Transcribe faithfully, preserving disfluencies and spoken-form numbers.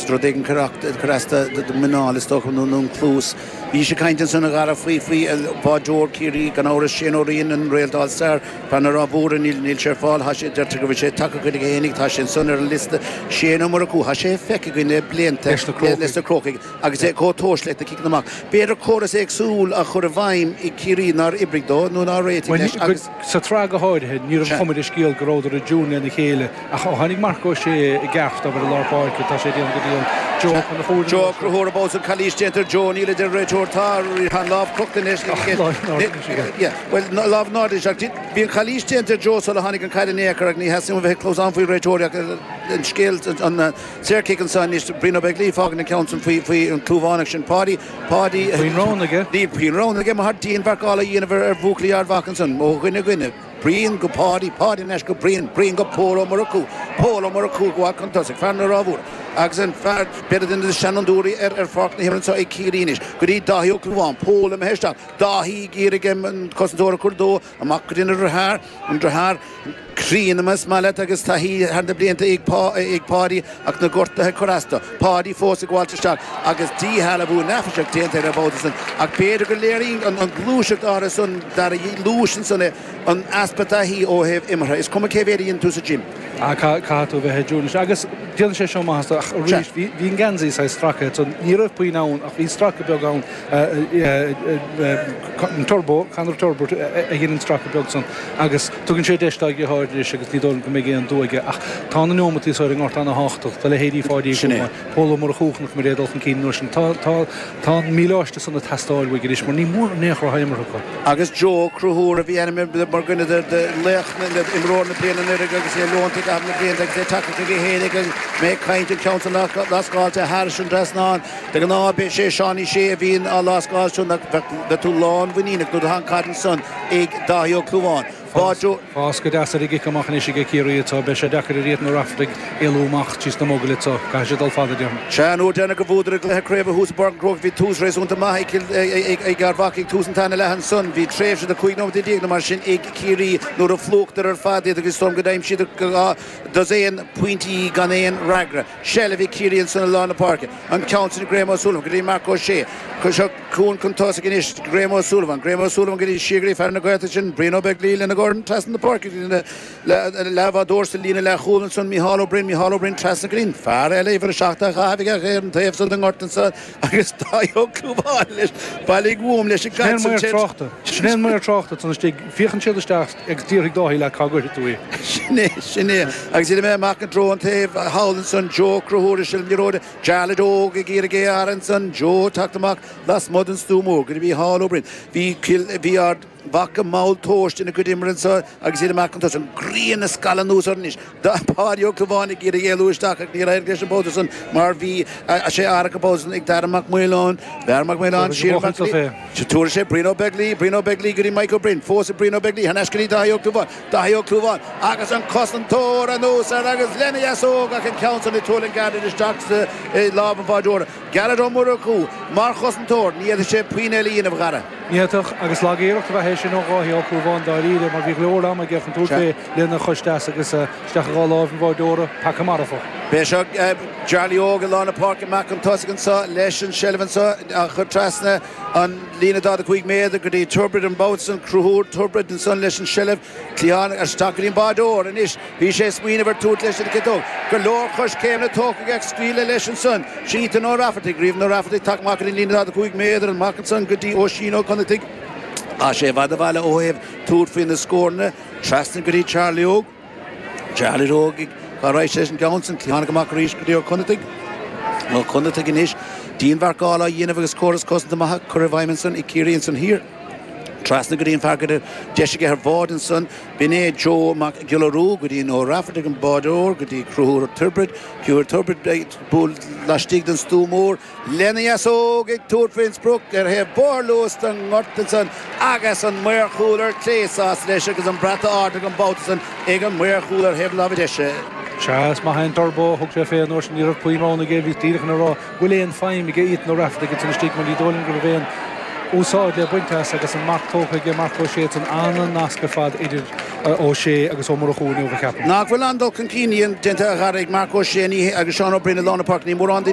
rud éigin cur as do mhuineál is dócha nó an cluas. Bhí sé caint ansan a Dhara faoi faoi bháideoir Ciarraí gan amhras Shane Ó Riain an réalt All Star fear na Ráth Mhór níl níl sé ar fáil tá sé deirtear go bhfuil sé tagtha chuige fhéinig tá sé ansan ar an liosta Shane Ó Murchú tá sé feicthe againn le blianta Leis na Crócaigh. leis na Crócaigh agus é chomh tomhaiste leis na ciceanna amach. B'fhéidir córas éagsúil a chur i bhfeidhm i Ciarraí nár oibrigh dó nó nár réitigh leis agus Sa tsraith go háirithe ní raibh chuma ar an scéal go rabhadar i dtiúin lena chéile ach ó tháinig Marc Ó Sé i gceart obair i lár páirce tá sé déanamh go dian Joe chun a chúil Joe Conchúir an babhta san calaois déanta ar Joe níl a deir an réiteoir tá an lámh crochta anois Well lámh in airde ach bhí an chalaois déanta ar Joe sula tháinig an caid in aon chor ach ní theastaíonn uaim bheith ag cluasán faoi réiteoirí ach an scéal an saorchic anso anois Brian Ó Beaglaoich fágann an ceann san faoi faoi an Clúmhánach sin Páidí Páidí Faoin rogha aige. Níl faoin rogha aige mar dianmharcáil a dhéanamh ar ar bhuachaillí Ard Mhacha ansan ó dhuine go dhuine. Brian go Páidí, Páidí anois go Brian, Brian go Pól Ó Murchú, Pól Ó Murchú go chun tosaigh, fear na Ráth Mhór agus an fear b'fhéidir duine de na seanfhondúirí ar ar pháirc na himeartha anseo ag Ciarraí anois go dtí Dáithí Ó Clúmháin, Pól imithe isteach, Dáithí ag iarraidh an cosantóir a chur dó, amach go dtí an deartháir, an deartháir críonna más maith leat agus taithí thar na blianta ag Páidí ach na gortuithe ag cur as dó. Páidí fós ag gabháilt isteach agus díshealbhú neafaiseach déanta air an babhta san ach b'fhéidir go léiríonn an ghluaiseacht áirithe san Dara luais ansan é an easpa taithí ó thaobh imeartha. Is cuma cé mhéad a dhéanann tú sa gym. Caithfidh tú bheith i dtiúin leis. Agus déanann sé seo maitheas dó ach arís bhí an geansaí saghas stractha so ní raibh puinn ann ach bhí stracadh beag ann an Turbo, Conor Turbo a dhein an stracadh beag san agus tugann sé deis dá dheartháir anois agus ní dóigh liom go mbeidh aon dua aige ach tá na neomataí so ar an ngort ana-thábhachtach do leithéidí Pháidí Uí Sin é. Chúmáin, Pól Ó Murchú chonaic muid é ag dul chun cinn an uair sin. Tá tá tá an míleáiste san ag teastáil uaidh anois mar ní mór in aon chor atá imeartha acu. Agus Joe Conchúir a bhí ainmnithe mar dhuine de de laoch na imreoir na bliana anuraidh agus é leonta i gcaitheamh na blianta agus é tagtha chuige féin agus mé ag caint an ceann san lascáilte thairis an trasnán. De ghnáth b'é sé Seánie Shea a bhíonn á lascáil sin ach bheadh tú lánmhuiníneach nuair atá an caid ansan ag Dáithí Ó Clúmháin. Bá Joe. Fás go deas ar an gcic amach anois ag Ciarraí anseo. Beidh sé deacair ar Ethan Ó Raifeartaigh éalú amach trí sna mogaill anseo. Caithfidh sé dul fada, déarfainn. Sea, an uair deireanach a bhuadar i gcluiche craoibhe thuas i bPáirc an Chrócaigh bhí tús réasúnta maith ag Ard Mhacha ag tús an tarna leath ansan. Bhí tréimhse de cúig nóiméad déag nó mar sin ag Ciarraí nuair a phlúchadar ar fad iad agus is dóigh liom go d'aimsíodar dhá dosaen pointí gan aon fhreagra. Seilbh ag Ciarraí ansan i lár na páirce. An ceann sin ag Graham O'Sullivan go dtí Marc Ó Sé. Seo chugainn chun tosaigh anois Graham O'Sullivan. Graham O'Sullivan go dtí siar go dtí fear na Gaeltachta sin, Brian Ó Beaglaoich lena dhorn trasna na páirce go dtí na leathbhádóir sa líne leathchúil ansan, Micheál Ó Broin. Micheál Ó Broin trasna go dtí an fear eile, uimhir a seacht á chaitheamh aige ar an taobh san den ngort ansan agus Dáithí Ó Clúmháin leis. Bailigh uaim leis an Sin é an gcaid san. maor tráchta. Sin é an maor tráchta ansan istigh. Féachann siad isteach agus déarfaidh Dáithí leat cá gcuirfidh tú í. Sin é, sin é. Agus iad imithe amach i dtreo an taobh thall ansan, Joe Conchúir i seilbh na liathróide, Jarlath Óg ag iarraidh é a fhaire ansan, Joe ag teacht amach lasmuigh den stua mór go dtí Micheál Ó Broin. Bhí Cill, bhí Ard Mhacha mall tomhaiste ina gcuid imeartha anso agus iad amach chun tosaigh. An ghrian ag scalladh anuas orainn anois. Páidí Ó Clúmháin ag iarraidh éalú isteach ach níor éirigh leis an babhta san mar bhí sé árach an babhta san ag Dara Mac Maoláin. Dara Mac Maoláin siar amach go dtí. Tabharfaidh sé Brian Ó Beaglaoich, Brian Ó Beaglaoich go dtí Mike Ó Broin, fós ag Brian Ó Beaglaoich, thar n-ais go dtí Dáithí Ó Clúmháin, Dáithí Ó Clúmháin agus an cosantóir anuas air agus lena dheasóg ach an ceann san ag tuirlingt gairid isteach sa lámh an bháideora. Gearóid Ó Murchú mar chosantóir, ní fhéadfadh sé puinn eile a dhéanamh, a Dhara. Ní fhéadfadh, agus lag-iarracht ab ea é sin ó Dháithí Ó Clúmháin dáiríre mar bhí go leor ama aige chun tabhairt fé lena chois deas agus isteach i dhá láimh an bháideora, paca marfach. B'é seo Charlie Óg i lár na páirce amach chun tosaigh anseo leis an seilbh anseo á chur trasna an líne daichead a cúig méadar go dtí Tuirbid an babhta san, Conchúr Tuirbid ansan leis an seilbh. Cliathán isteach go dtí an báideoir anois. Bhí sé ag smaoineamh ar tabhairt leis an gciotóg. Go leor coiscéimeanna tógtha aige ach scaoileadh leis ansan. Sin Ethan Ó Raifeartaigh. Ethan Ó Raifeartaigh ag teacht amach go dtí an líne daichead a cúig méadar amach ansan go dtí Oisín Ó Connachtaigh. Tá sé i bhfad ó bhaile ó thaobh tabhairt faoi na scóranna. Trasna go dtí Charlie Óg. Charlie Óg cá raibh sé leis an gceann san. Cliathánach amach arís go dtí Ó Connachtaigh. Ó Connachtaigh anois. Dianmharcáil á dhéanamh agus córas cosanta maith curtha i bhfeidhm ansan ag Ciarraí ansan thiar. Trasna go dtí an fear go raibh deis aige ar bhád ansan. B'in é Joe Mac Giolla Rua go dtí an Ó Raifeartaigh an bádóir go dtí Conchúr Tuirbid. Conchúr Tuirbid ag bualadh laistigh den stua mór lena dheasóg ag tabhairt faoin sprioc ar thaobh barr luas den ngort ansan agus an maor chúil ar clé sásta leis agus an brat ardaithe an babhta san ag an maor chúil ar thaobh na láimhe deise. Sea, is maith é an Turbo, thug sé fé an uair sin, ní raibh puinn roghanna aige, bhíos díreach chun a rá bhfuil aon feidhm aige Ethan Ó Raifeartaigh ansan istigh mar ní dóigh liom go raibh aon úsáid le baint as agus an marc tógtha aige Marc Ó Sé ansan an-nasc ar fad idir Ó Sé agus Ó Murchú inniu a cheapaim. Nach bhfuil an-dul chun cinn déanta a Dhara ag Marc Ó Sé agus Seán Ó Broin i lár na páirce. Ní mórán daoine.